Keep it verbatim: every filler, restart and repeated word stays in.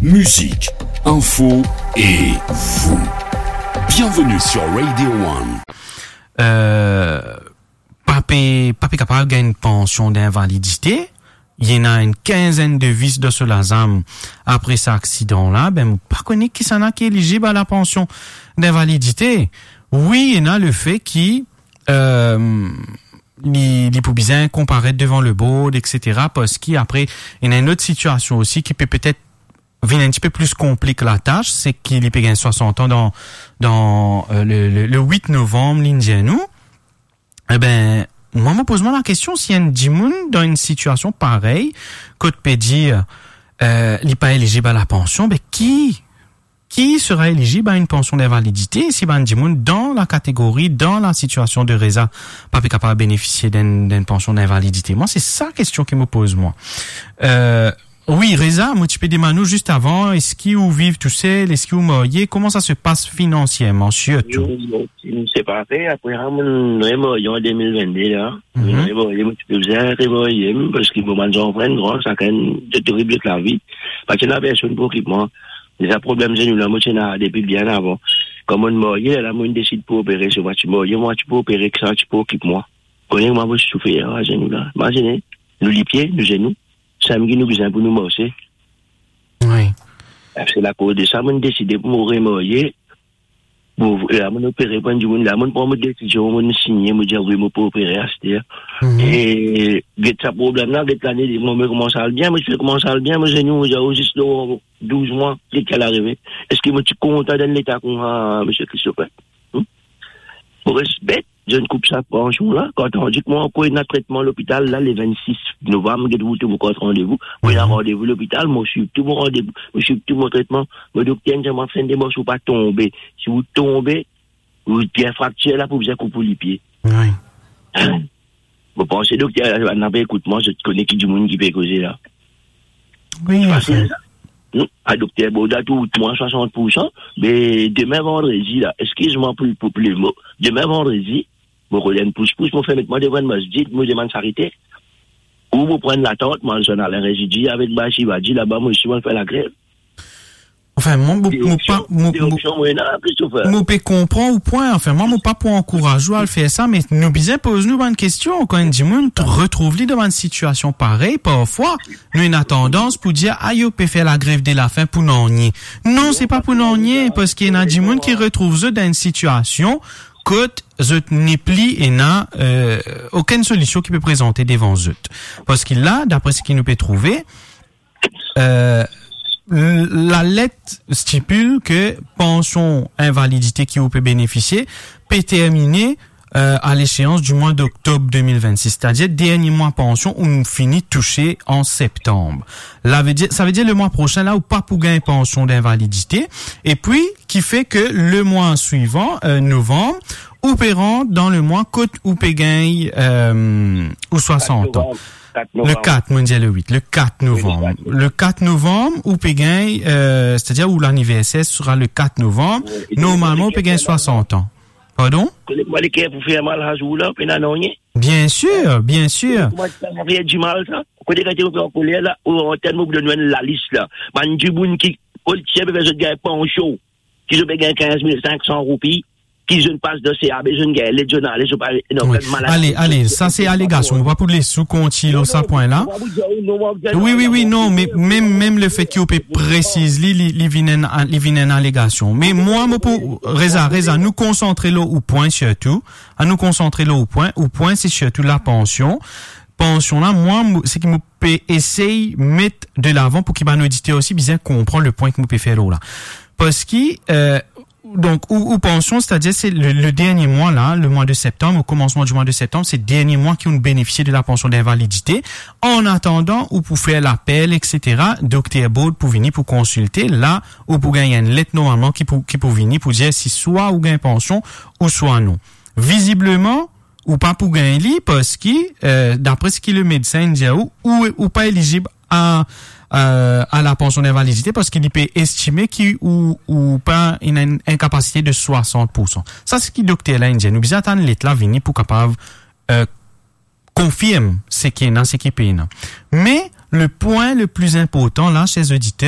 Musique, info et vous. Bienvenue sur Radio One. Euh, pa pe, pa pe kapav gagn pansion d'invalidité. Ena enn kinzenn de vis dan so lazam apre sa aksidan la. Ben, mo pa kone kisannla ki elizib a la pansion d'invalidité. Wi, ena lefe ki, euh, li, li pou bizin konparet devan le board, et cetera, parski apre, ena enn lot sitiasion osi ki pe petet vinn enn tipe plis konplik latas, se ki li pe gagn swasant an dan, dan, euh, le, le, le wit novanm, li dir nou. Eben, mwa, mo poz mwa lakestion, si enn dimoun dan enn sitiasion parey, kot pe dir, euh, li pa elizib a la pansion, be ki, ki sera elizib a enn pansion d'invalidité, si bann dimoun dan la kategori, dan la sitiasion de Reza, pa pe kapav benefisie d'enn, d'enn pansion d'invalidité? Mwa, se sa kestion ki mo poz mwa. Euh, Wi, Reza, mo ti pe demann ou zis avan, eski ou viv tousel, eski ou marye, kouma sa se pas finansierman, sirtou? Wi, mo ti separe, apre sa, mo remarye an de mil vennde la. Mo remarye, mo ti pe bizin remarye, parski mo bann zanfan gran, sakenn ti tribit lavi. Pa ti ena personn pou okip mwa. Deza problem zenou la, mo ti ena depi bien avan. Kan mo marye, la mo desid pou opere, so mwa ti marye, mwa ti pou opere, ki sa ti pou okip mwa. Kone mwa mo ti soufer, a, zenou la. Imazine, nou lipie, nou zenou. Samem ki nou bizin pou nou marse. Wi. Se lakoz de sa, mo deside pou mo remarye. Bon, la, mo opere pou enn dimoun la, mo pran mo desizion, mo signe, mo dir, "Wi, mo pou opere aster." E get sa problem la, get lane, mo, mo koumans al bien, mo ti koumans al bien, mo zenou, mo dir, "O, zis lor douz mwa, ki ki al arive?" Eski mo ti kontan dan leta koumsa, misie Christopher? Hmm? Mo res bet, zot koup sa pansion la, kan tandi ki mwa ankor ena tretman lopital la, le vennsis novanm, get ou tou mo kart randevou, mo ena randevou lopital, mo swiv tou mo randevou, mo swiv tou mo tretman, mo dokter inn dir mwa, fer enn demars, ou pa tonbe. Si ou tonbe, ou pie fraktir la, pou bizin koup ou lipie. Wi. Mo panse dokter la, la pe ekout mwa, zot kone ki dimoun ki pe koze la. Wi, fasil sa. Hmm, a dokter Boda, tou mwa swasant pou san, me demin vandredi la, eskiz mwa pou, pou, pou lemo, demin vandredi, mo rod enn pouspous, mo fer met mwa devan enn masjid, mo demann sarite. Ou mo pran latant, mo al zwenn Alain Rezidi avek Bae Shivadi laba, mo osi mo al fer lagrev. Anfin, mwa, mo, mo pa, mo, mo, mo pe konpran ou pwin. Anfin, mwa, mo pa pou ankouraz ou al fer sa, me nou bizin poz nou bann kestion. Kan enn dimoun t-, retrouv li dan bann sitiasion parey, parfwa, nou ena tandans pou dir, "Ayo, pe fer lagrev de lafin pou nanye." Non, se pa pou nanye, parski ena dimoun ki retrouv zot dan enn sitiasion kot zot nepli ena, euh, okenn solision ki pe prezante devan zot. Parski la, dapre seki nou pe trouve, euh, l-, lalet stipil ke pansion invalidite ki ou pe benefisie pe termine, euh, a leseans di mwa doktob de mil vennsis, setadir dernie mwa pansion ou fini touse an septanm. La ve dir, sa ve dir le mwa prosin la, ou pa pou gagn pansion d'invalidite. Epi, ki fer ke le mwa swivan, euh, novanm, ou pe rant dan le mwa kot ou pe gagn, euh, ou swasant an. Le kat, mo dir le wit, le kat novanm. Le kat novanm, ou pe gagn, euh, setadir ou laniverser sera le kat novanm. Normalman, ou pe gagn swasant an. Pardon? Kote mwa leker pou fer mal sa zour la, pena nanye. Bien sir, bien sir. Kouma ti fer dimal sa? Kote kan ti pe ankoler la, ou antann mo pou donn enn lalis la. Bann dimoun ki, oltie pe fer zot gagn pansion, ki zot pe gagn kinz mil sink san roupi, ki zot pas dan C A B, zot gagn let, zot ale, zot pa, non, ale, ale, sa se alegasion. Mo pa pou les ou kontign lor sa pwin la. Wi, wi, wi, non, me mem, mem lefet ki ou pe presiz li, li, li vinn enn, li vinn enn alegasion. Me mwa, mo pou, Reza, Reza, nou konsantre lor ou pwin sirtou. Annou konsantre lor ou pwin. Ou pwin, se sirtou lapansion. Pansion la, mwa, mo, seki mo pe esey met de lavan pou ki bann oditer osi bizin konpran le pwin ki mo pe fer lor la. Parski, euh, donk, ou, ou pansion, setadir se le, le dernie mwa la, le mwa de septanm, o koumansman di mwa de septanm, se dernie mwa ki ou benefisie de lapansion d'invalidite. An atandan, ou pou fer lapel, et cetera, dokter Baud pou vini pou konsilte, la, ou pou gagn enn let normalman ki pou, ki pou vini pou dir si swa ou gagn pansion ou swa non. Vizibleman, ou pa pou gagn li, parski, euh, dapre seki le medsin dir ou, ou, ou pa elizib a, euh, a lapansion d'invalidite, parski li pe estime ki ou, ou pa ena enn inkapasite de swasant pou san. Sa seki dokter la inn dir. Nou bizin atann let la vini pou kapav, euh, konfirm seki ena, seki pena. Me le pwin le pli inportan la, ser oditer,